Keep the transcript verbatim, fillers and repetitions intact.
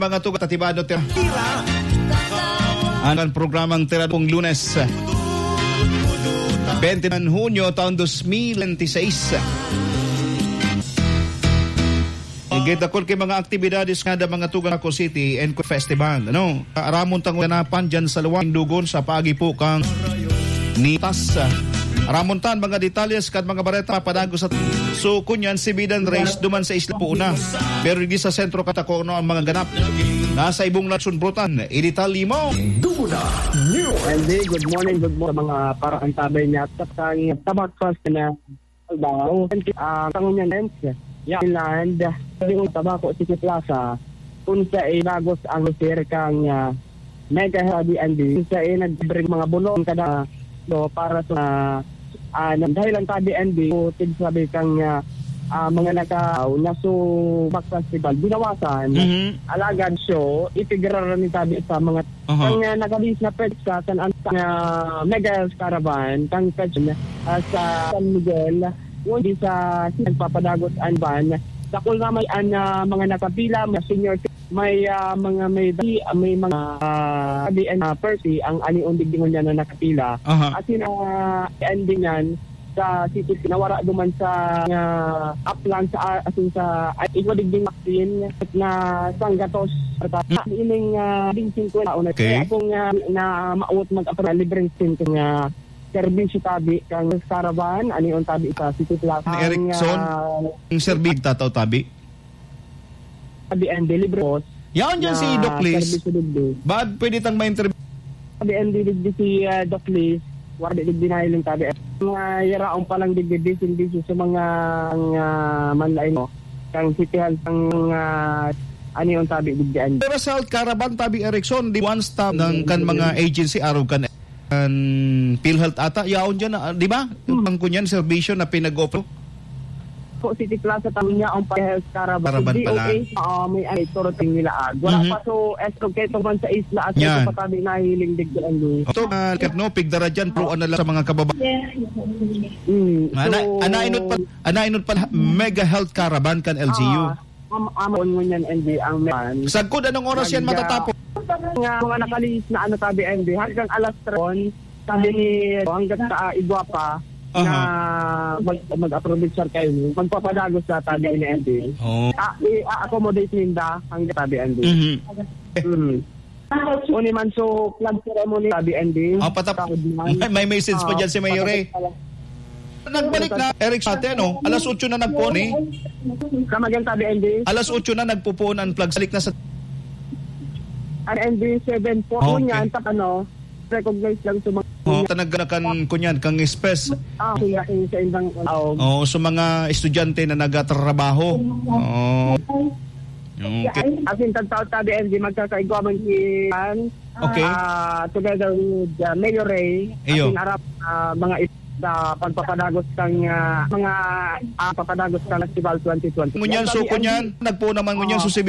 Mga tugang, Tatibado, Tira. Ang programang Tira pong Lunes, twenty-nine Hunyo, taon dos mil twenty-six. Igit dakul ki mga aktibidades ngada, mga tugang, Baco City and Festival, ano? Aramon tang ganapan dyan sa luwang Indugon sa paagi po kang Nitas. Aramon tan mga detalles kan mga bareta padagos at so kunyan si Bidan Race duman sa Isla Puuna. Pero di sa sentro katakono ang mga ganap. Nasa ibong nasyon brutan, idetalye mo. Duna News. Andy, good morning, good morning sa mga paraantabay niya at sa kang tabak fast na trabaho. Ah, kangunyan, Lens, yeah, Inland, yung Tabaco City Plaza, kung sa inagos ang sir kang, ah, Mega Health Abby and Bee, kung sa nagbre mga bulong kada, no, para sa, ah, nang dahilan tabi and Bee, so, tig sabi kang, ah, ah, mga naka, na so, back festival, binawasan. Mhm. Alagad show, ipigraran ni tabi sa mga Aha. Ang, ah, nakabis na petsa kan an-, ah, Mega Health Caravan, kan petsa, ah, sa San Miguel, ngunyan sa nagpapadagot an van. Dakul na may an, ah, mga nakapila, mga senior, may, ah, mga may, may mga, ah, sabi, ah, Percy, ang ani undig dingon niya na nakapila. Aha. Asin, ah, ending yan, sa city, nawara duman sa, ah, aplan sa, ah, asin sa, ay, igwa digding vaccine na sanggatos. Hmm. Ining, ah, ding singkwenta una. Okay. Kaya kung, ah, na maawot mag-apro-, libreng singko nga serbisyo tabi kang caravan, ani on tabi sa City Plaza. Ni Erickson, ang, ah, ang serbi-, tataw tabi? Sabi, and delivery boss. Yaon dyan si na Doc Liz. Serbisyo digdi. Baad pwede tang ma-interview? Sabi, and digdi si, ah, Doc Liz. Wala digdi na ilang tabi. Mga yaraon pa lang digdi, busy, busy sa mga, ang, ah, manlain mo. Kang City Hall, ang, ah, ano yung tabi digdi, and Pero sa Health Caravan, tabi Erickson, di one stop ng kan mga agency, araw kan, kan PhilHealth ata, yaon dyan, ah, di ba? Hmm. Ang kunyan, serbisyo na pinag-offer. Po, City Plaza, tabi niya ang pa-health caravan. Caravan pala. D O H, oo, may ay, turo ting nila, ah. Wala Mhm. pa, so, esto, keto man sa isla, at Yan. Keto pa tabi nahiling digdi, ano. Ito, ah, kat-, no, pigdara dyan, pero ano lang sa mga kababa-, Mm, ana-, so, anainot pa, anainot pa, Mega Health Caravan kan L G U. Ah, am-, amon ngunyan, N B, ang meron. Sagkod, anong oras yan Nag-, matatapos? Nga, mga nakalihis na ano, tabi, N B, hanggang alas tres, sabi ni, hanggang sa, ah, igwa pa, Aha. na mag-, mag-approve, sir, kayo. Magpapadagos na tabi ni N B. Oh. Ah, i-accommodate ninda hanggang tabi, N B. Mhm. Mm. Uni man so, plan ceremony, sabi, N B. Oh, patap-, Taod man. may, may message pa Ah, dyan si Mayor, eh. patapos pala. Nagbalik na, Eric, sa atin, no? Alas otso na nagpuon, eh. Kamagan, sabi, N B. Alas otso na nagpupuon ang flag. Salik na sa Ang N B seven po, Okay. ngunyan, ta-, ano, recognize lang sa mga Oh, tanag na kan, kunyan, kang space. Ah, sila yung sa indang, oh. Oh, sa mga estudyante na nagatrabaho. Oh. Okay. As in, tagtaw-tabi, N B, magkakaigwa man si, Okay. ah, together with, ah, Mayor Ray, Iyo. As in, arap, ah, mga is-, ah, pagpapadagos kang, ah, mga, ah, papadagos kang Festival twenty twenty. Ngunyan, Yan, so, sabi, kunyan, N B. nagpuon naman ngunyan, Oh. so, si